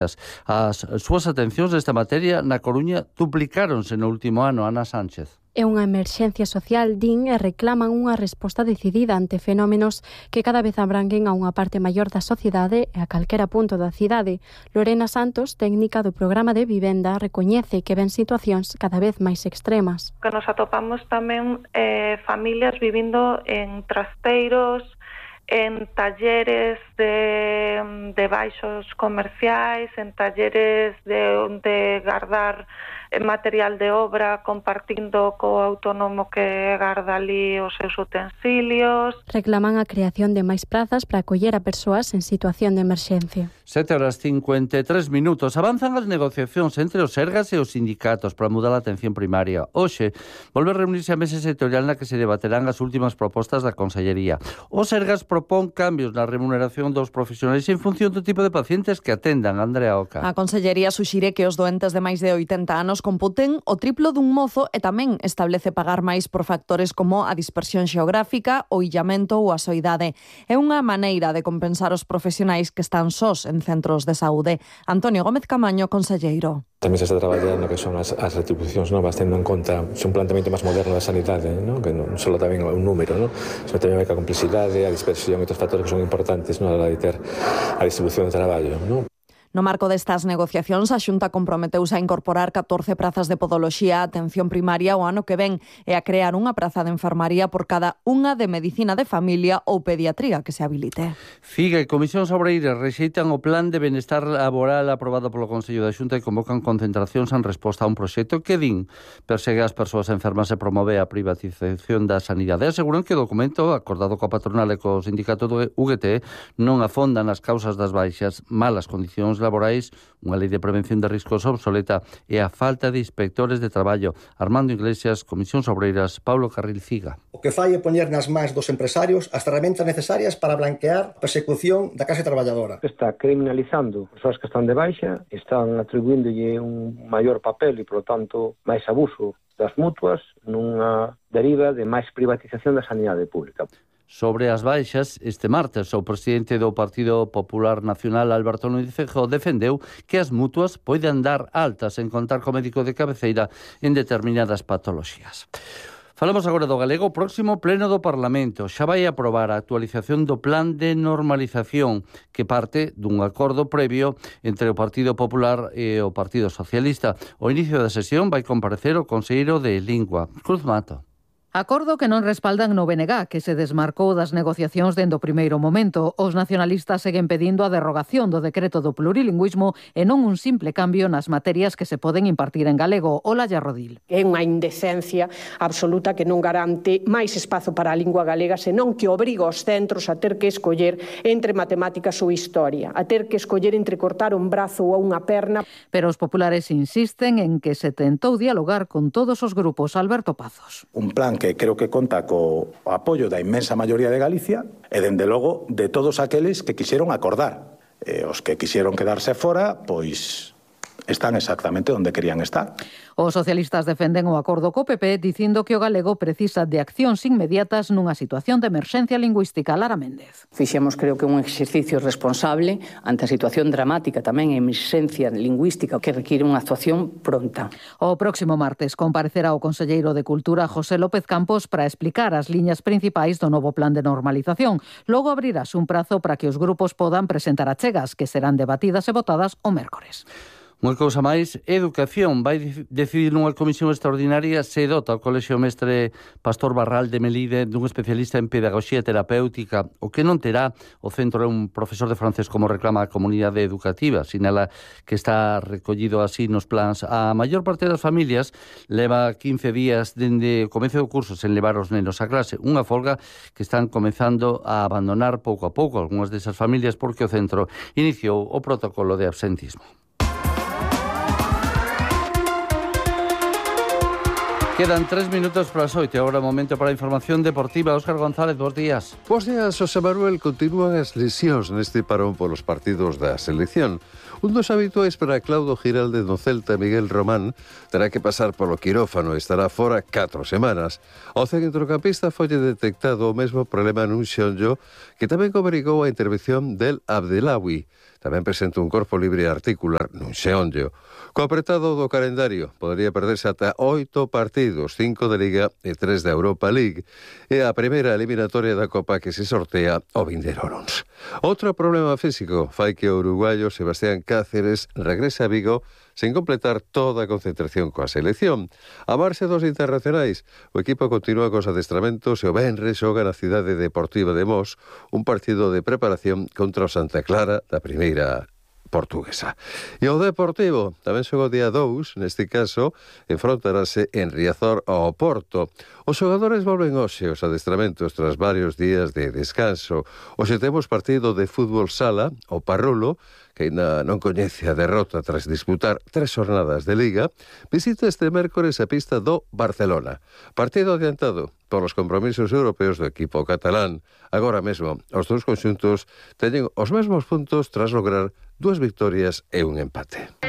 As súas atencións nesta materia na Coruña duplicáronse no último ano, Ana Sánchez. É unha emerxencia social, din, e reclaman unha resposta decidida ante fenómenos que cada vez abranguen a unha parte maior da sociedade e a calquera punto da cidade. Lorena Santos, técnica do programa de vivenda, recoñece que ven situacións cada vez máis extremas. Que nos atopamos tamén familias vivindo en trasteiros, en talleres de baixos comerciais, en talleres de guardar material de obra compartindo co autónomo que garda ali os seus utensilios. Reclaman a creación de máis prazas para acoller a persoas en situación de emerxencia. 7:53. Avanzan as negociacións entre os Sergas e os sindicatos para mudar a atención primaria. Hoxe volve a reunirse a mesa sectorial na que se debaterán as últimas propostas da Consellería. Os Sergas propón cambios na remuneración dos profesionais en función do tipo de pacientes que atendan. Andrea Oca. A Consellería suxire que os doentes de máis de 80 anos computen o triplo dun mozo e tamén establece pagar máis por factores como a dispersión xeográfica, o illamento ou a soidade. É unha maneira de compensar os profesionais que están sós en centros de saúde. Antonio Gómez Camaño, conselleiro. Tamén se está traballando que son as retribucións novas, tendo en conta un planteamento máis moderno da sanidade, ¿no? Que non só tamén un número, ¿no? Sino tamén a complexidade, a dispersión e outros factores que son importantes, ¿no? A la hora de ter a distribución de traballo, ¿no? No marco destas negociacións, a Xunta comprometeuse a incorporar 14 prazas de podoloxía á atención primaria o ano que ven e a crear unha praza de enfermaría por cada unha de medicina de familia ou pediatría que se habilite. Figa e Comisións Obreiras rexeitan o plan de benestar laboral aprobado polo Consello da Xunta e convocan concentracións en resposta a un proxecto que, din, persegue as persoas enfermas e promove a privatización da sanidade. Aseguran que o documento, acordado coa patronal e co sindicato do UGT, non afonda nas causas das baixas, malas condicións laborais, unha lei de prevención de riscos obsoleta e a falta de inspectores de traballo. Armando Iglesias, Comisións Obreiras, Paulo Carril Figa. O que fai é poñer nas mans dos empresarios as ferramentas necesarias para blanquear a persecución da clase traballadora. Está criminalizando as persoas que están de baixa, están atribuíndolle un maior papel e, por lo tanto, máis abuso das mutuas nunha deriva de máis privatización da sanidade pública. Sobre as baixas, este martes o presidente do Partido Popular Nacional, Alberto Núñez Feijóo, defendeu que as mutuas poden dar altas en contar co médico de cabeceira en determinadas patoloxías. Falamos agora do galego. O próximo pleno do Parlamento xa vai aprobar a actualización do plan de normalización que parte dun acordo previo entre o Partido Popular e o Partido Socialista. O inicio da sesión vai comparecer o conselleiro de Lingua, Cruz Mato. Acordo que non respaldan no BNG, que se desmarcou das negociacións dende o primeiro momento. Os nacionalistas seguen pedindo a derrogación do decreto do plurilingüismo e non un simple cambio nas materias que se poden impartir en galego. Olalla Rodil. É unha indecencia absoluta que non garante máis espazo para a lingua galega, senón que obriga os centros a ter que escoller entre matemáticas ou historia, a ter que escoller entre cortar un brazo ou unha perna. Pero os populares insisten en que se tentou dialogar con todos os grupos. Alberto Pazos. Un plan que creo que conta co apoio da inmensa maioría de Galicia e, dende logo, de todos aqueles que quixeron acordar. Os que quixeron quedarse fora, pois están exactamente onde querían estar. Os socialistas defenden o acordo co PP dicindo que o galego precisa de accións inmediatas nunha situación de emerxencia lingüística. Lara Méndez. Fixemos, creo que un exercicio responsable ante a situación dramática tamén en emerxencia lingüística que require unha actuación pronta. O próximo martes comparecerá o conselleiro de Cultura José López Campos para explicar as liñas principais do novo plan de normalización. Logo abrirás un prazo para que os grupos podan presentar achegas que serán debatidas e votadas o mércores. Unha cousa máis, Educación vai decidir nunha comisión extraordinaria se dota o Colexio Mestre Pastor Barral de Melide dun especialista en pedagogía terapéutica. O que non terá o centro é un profesor de francés como reclama a comunidade educativa. Sinala que está recollido así nos plans. A maior parte das familias leva 15 días dende o comezo do curso sen levar os nenos a clase. Unha folga que están comezando a abandonar pouco a pouco algunhas desas familias porque o centro iniciou o protocolo de absentismo. Quedan 3 minutos para as 8. Agora momento para a información deportiva. Óscar González, bons días. Bons días, José Manuel. Continúan as lesións neste parón polos partidos da selección. Un dos habituais para Claudio Giralde no Celta, Miguel Román, terá que pasar polo quirófano e estará fora 4 semanas. O centrocampista foi detectado o mesmo problema nun xonllo que tamén obrigou a intervención del Abdelawi. tamén presenta un corpo libre e articular nun xeonllo. Co apretado do calendario podería perderse ata 8 partidos, 5 de Liga e 3 da Europa League, e a primeira eliminatoria da Copa que se sortea o vindeiro luns. Outro problema físico fai que o uruguayo Sebastián Cáceres regrese a Vigo sen completar toda a concentración coa selección. A marxe dos internacionais, o equipo continúa cos adestramentos e o venres xoga na cidade deportiva de Mos un partido de preparación contra o Santa Clara da primeira portuguesa. E o Deportivo tamén xoga o día 2, neste caso, enfrontarase en Riazor ao Porto. Os xogadores volven hoxe aos adestramentos tras varios días de descanso. Hoxe temos partido de fútbol sala, o Parrulo, que ainda non coñece a derrota tras disputar 3 jornadas de Liga, visita este mércores a pista do Barcelona. Partido adiantado polos compromisos europeos do equipo catalán. Agora mesmo, os dous conxuntos teñen os mesmos puntos tras lograr 2 victorias e un empate.